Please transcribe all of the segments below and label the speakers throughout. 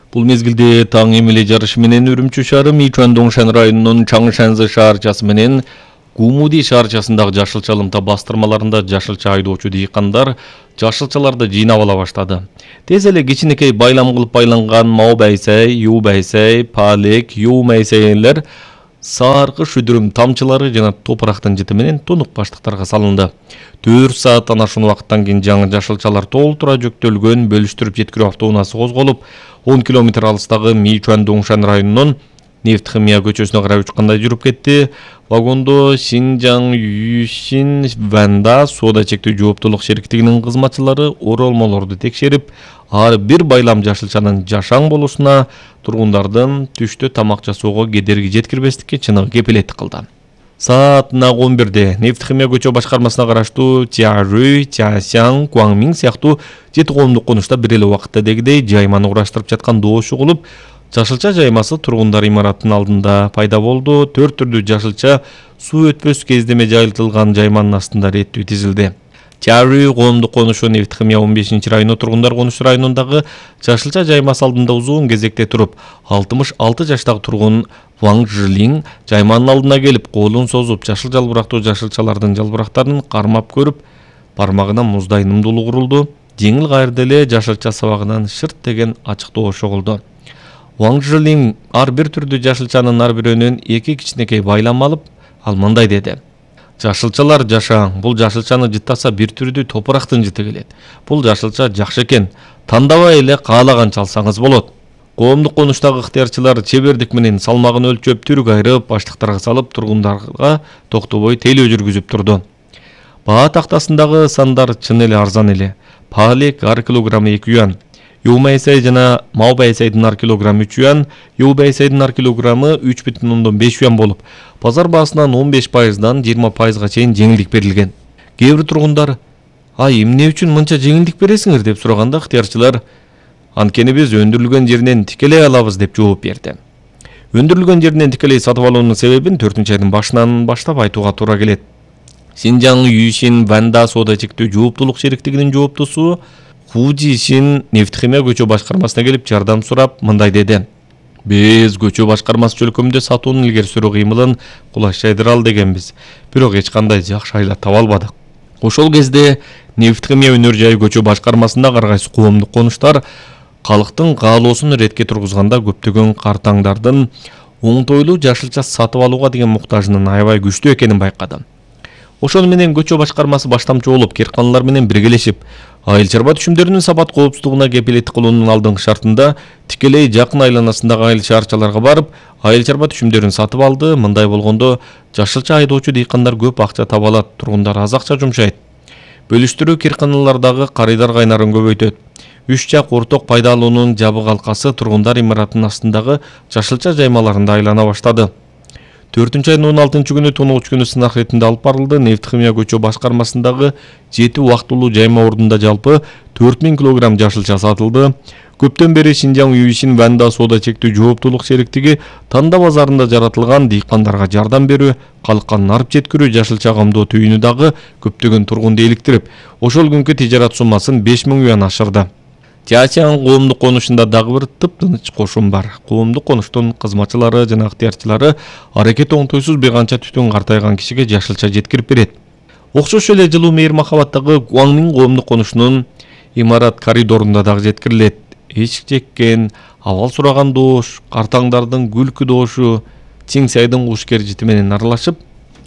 Speaker 1: Бул мезгилде таң эмеле жарышы менен Үрүмчү шаары Мичуан-Доңшан районунун Чаңшанзы шаарчасы менен Гумуди шаарчасындагы жашыл чалымта бастырмаларында жашылча айдоочу дыйкандар жашылчаларды жыйнап ала баштады. Тез эле кичинекей байлам кылып байланган Мау байсай, Ю байсай, Палек, Ю майсайлер саркы шүдүрүм тамчылары жана топурактын жыты менен тунук баштыктарга салынды. 4 сааттан ашуун убакыттан кийин жаңы жашылчалар толтура жүктөлгөн бөлүштүрүп жеткирүү автоунаасы козголуп, 10 километр алыстагы Мичуан-Доңшан районунун Нефть-химия көчөсүнө карай учкандай жүрүп кетти. Вагондо Шинжаң Юшин Ванда соода чектөө жооптулук шериктигинин кызматчылары оролмолорду текшерип, ар бир байлам жашылчанын жашаң болушуна тургундардын түштө тамак жасоого кедерги жеткирбестикке чыныгы кепилеттик кылды. Саатына 11-де Нефть-химия көчө башкармасына караштуу Чарүй, Часяң, Куаңмиң сыяктуу 7 коомдук конушта бир эле убакытта дегидей жайманы ураштырып жаткан доош угулуп, жашылча жаймасы тургундар имараттын алдында пайда болду. 4 түрдүү жашылча суу өтпөс кездеме жайылтылган жайманын астында реттүү тизилди. Чарүй коомдук конушу Нефть-химия 15-району тургундар конуш районундагы жашылча жаймасы алдында узун кезекте туруп, 66 жаштагы тургун Ваң Жилиң жайманын алдына келип, колун созуп, жашыл жалбырактуу жашылчалардын жалбырактарын кармап көрүп, бармагына муздай нымдуулук урулду. Жеңил кайрда эле жашылча сабагынан шырт деген ачык доош угулду. Ваң Жилиң ар бир түрдүү жашылчанын ар бирөөнөн 2 кичинекей байлам алып, ал мындай деди: жашылчалар жашаң, бул жашылчаны жыттаса бир түрдүү топурактын жыты келет. Бул жашылча жакшы экен, тандабай эле каалаганча алсаңыз болот. Коомдук конуштагы ыктыярчылар чебердик менен салмагын өлчөп, түрүк айрып, баштыктарга салып, тургундарга токтобой тейлөө жүргүзүп турду. Баа тактасындагы сандар чын эле арзан эле. Палек ар килограммы 2 юан, Ю байсай жана Мау байсайдын ар килограммы 3 юан, Ю байсайдын ар килограммы 3,5 юан болуп, базар баасынан 15%дан 20%га чейин жеңилдик берилген. Кээ бир тургундар: "Ай, эмне үчүн мынча жеңилдик бересиңер?" деп сураганда ыктыярчылар: "Анткени биз өндүрүлгөн жеринен тикелей алабыз" деп жооп берди. Өндүрүлгөн жеринен тикелей сатып алуунун себебин 4-айдын башынан баштап айтууга туура келет. Шинжаң Юшин Ванда соода чектөө жооптулук шериктигинин жооптусу Хужишин Нефть-химия көчө башкармасына келип жардам сурап мындай деди: "Биз көчө башкармасы чөлкөмдө сатуунун илгери сүрүү кыймылын кулачтайдыра ал дегенбиз, бирок эч кандай жакшы айла таба албадык." Ошол кезде Нефть-химия өнөр жайы көчө башкармасында ар кайсы коомдук конуштар калктын каалоосун иретке тургузганда көптөгөн картаңдардын оңтойлуу жашылча сатып алууга деген муктажынын аябай күчтүү экенин байкады. Ошону менен көчө башкармасы баштамчы болуп, керканлар менен биргелешип, айыл чарба түшүмдөрүнүн сапат коопсуздугуна кепилеттик кылуунун алдыңкы шартында тикелей жакын айланасындагы айыл шаарчаларга барып, айыл чарба түшүмдөрүн сатып алды. Мындай болгондо жашылча айдоочу дыйкандар көп акча таба алат, тургундар аз акча жумшайт. Бөлүштүрүү керканалардагы карыйдар кайнарын көбөйтөт. 3 жак орток пайда алуунун жабык алкасы тургундар имараттын астындагы жашылча жаймаларында айлана баштады. 4-айдын 16-күнү тоногуч күнү сынак ретинде алып барылды. Нефть-химия көчө башкармасындагы 7 убактылуу жайма ордунда жалпы 4000 килограмм жашылча сатылды. Көптөн бери Шинжаң Юшин Ванда соода чектөө жооптулук шериктиги Танда базарында жаратылган дыйкандарга жардам берүү, калкка нарып жеткирүү жашылча камдоо түйүнү дагы көптөгөн тургунду иликтирип, ошол күнкү тижарат суммасын 5000 юан ашырды. Часяң коомдук конушунда дагы бир тыптыныч кошум бар. Коомдук конуштун кызматчылары жана ыктыярчылары аракети оңтойсуз бир канча түтүн картайган кишиге жашылча жеткирип берет. Окшош эле жылуу мейир махабаттагы Куаңмиң коомдук конушунун имарат коридорунда дагы жеткирилет. Эчик чеккен, абал сураган доош, картаңдардын күлкү доошу Чиңсайдын кушкер жити менен аралашып,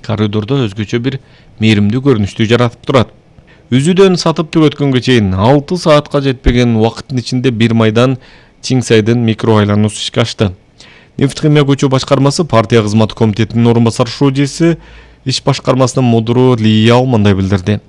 Speaker 1: коридордо өзгөчө бир мээримдүү көрүнүштү жаратып турат. Үзүдөн сатып түгөткөнгө чейин 6 саатка жетпеген убакыттын ичинде бир майдан Чиңсайдын микро айлануусу ишке ашты. Нефть-химия көчө башкармасы партия кызматы комитетинин орун басар шуудиси иш башкармасынын мудуру Ли Яо мындай билдирди: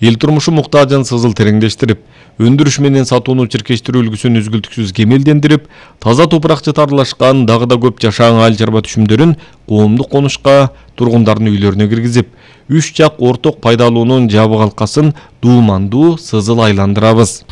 Speaker 1: "Эл турмушу муктажын сызыл тереңдештирип, өндүрүш менен сатууну чиркештирүү үлгүсүн үзгүлтүксүз кемелдендирип, таза топурак жытарылашкан дагы да көп жашаң айыл чарба түшүмдөрүн коомдук конушка тургундардын үйлөрүнө киргизип, 3 жак орток пайда алуунун жабык алкасын дуумандуу сызыл айландырабыз."